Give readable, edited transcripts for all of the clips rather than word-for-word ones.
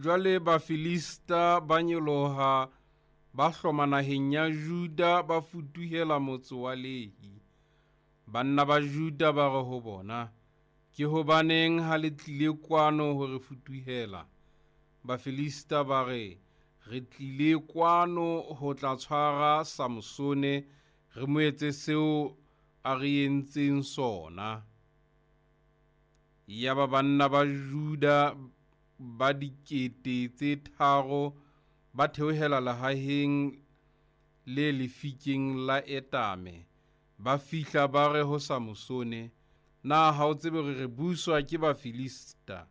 Jwale Bafilista ba nyoloha, ba hloma naheng ya Juda, ba futuhela motse wa Lehi. Banna ba Juda ba re ho bona, Ke hobaneng ha le tlile kwano ho re futuhela? Bafilista ba re, Re tlile kwano ho tla tshwara Samsone, re mo etse seo a re entseng sona. Yaba banna ba Juda ba 3000 ba theohela lehaheng le lefikeng la Etame. Ba fihla ba re ho Samsone, Na ha o tsebe hore re buswa ke Bafilista?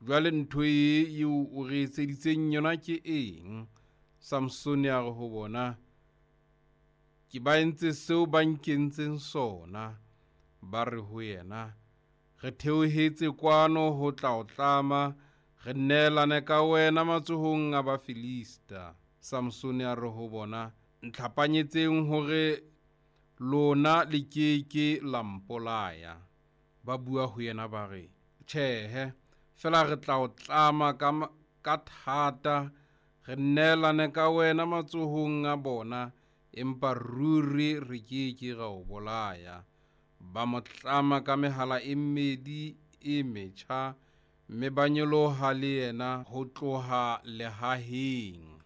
Jwale ntho ee eo o re etseditseng yona ke eng? Samsone a re ho bona, Ke ba entse seo ba nkentseng sona. Ba re ho yena, Re theohetse kwano ho tla o tlama, re neelane ka wena matsohong a Bafilista. Samsone a re ho bona, Ntlhapanyetseng hore lona le ke ke la mpolaya. Ba bua ho yena ba re, Tjhehe, feela re tla o tlama ka, ka thata, re neelane ka wena matsohong a bona, empa ruri re ke ke ra o bolaya. Ba mo tlama ka mehala e mmedi e metjha, mme ba nyoloha le yena ho tloha lehaheng.